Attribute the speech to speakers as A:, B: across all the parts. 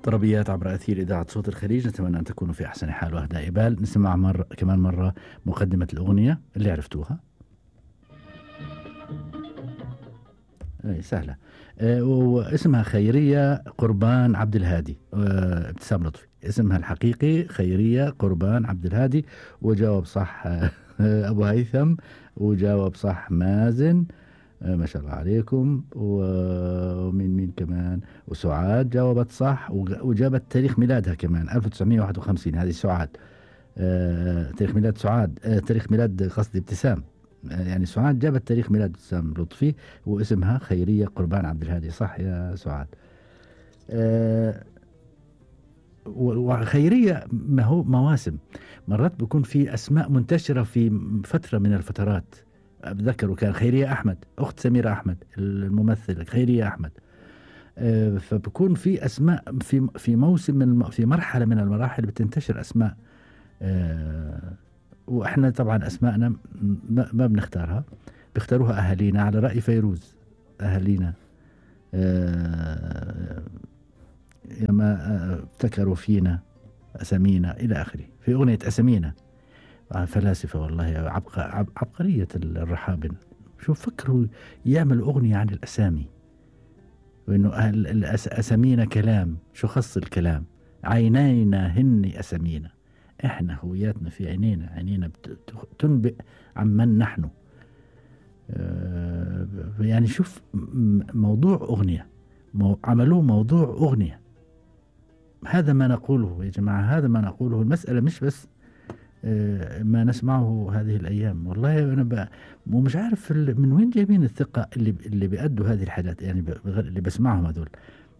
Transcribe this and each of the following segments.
A: طربيات عبر أثير إذاعة صوت الخليج، نتمنى أن تكونوا في أحسن حال وأهدى إبال. نسمع كمان مرة مقدمة الأغنية اللي عرفتوها. أي سهلة. واسمها خيرية قربان عبد الهادي. ابتسام لطفي اسمها الحقيقي خيرية قربان عبد الهادي. وجاوب صح أبو هيثم، وجاوب صح مازن. ما شاء الله عليكم. ومين كمان؟ وسعاد جاوبت صح، وجابت تاريخ ميلادها كمان 1951. هذه سعاد. تاريخ ميلاد سعاد، تاريخ ميلاد قصدي ابتسام. يعني سعاد جابت تاريخ ميلاد ابتسام لطفي، واسمها خيرية قربان عبد الهادي. صح يا سعاد. وخيرية ما هو مواسم، مرات بيكون في أسماء منتشرة في فترة من الفترات. أتذكر كان خيرية أحمد أخت سميرة أحمد الممثلة خيرية أحمد. فبكون في أسماء في موسم في مرحلة من المراحل بتنتشر أسماء. وإحنا طبعا أسماءنا ما بنختارها، بيختاروها أهالينا على رأي فيروز. أهالينا ياما ابتكروا فينا أسامينا إلى آخره. في أغنية أسامينا فلاسفة والله عبقرية الرحابن. شوف فكروا يعملوا أغنية عن الأسامي، وإنه أسامينا كلام. شو خص الكلام؟ عينينا هن أسامينا، إحنا هوياتنا في عينينا تنبئ عمن نحن. يعني شوف موضوع أغنية، عملوه موضوع أغنية. هذا ما نقوله يا جماعة، هذا ما نقوله. المسألة مش بس ما نسمعه هذه الأيام. والله أنا ومش عارف من وين جايبين الثقة اللي بيأدوا هذه الحاجات. يعني اللي بسمعهم هذول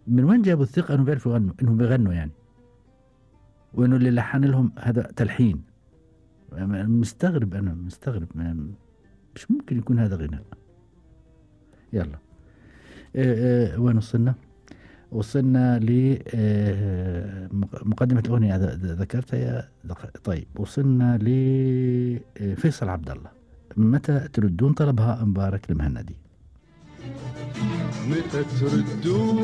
A: من وين جابوا الثقة إنهم بيعرفوا يغنوا، إنهم بيغنوا يعني، وإنه اللي لحن لهم هذا تلحين. أنا مستغرب مش ممكن يكون هذا غناء. يلا وين وصلنا لمقدمة الأغنية ذكرتها يا طيب. وصلنا لفيصل عبد الله. متى تردون؟ طلبها مبارك المهندي.
B: متى تردون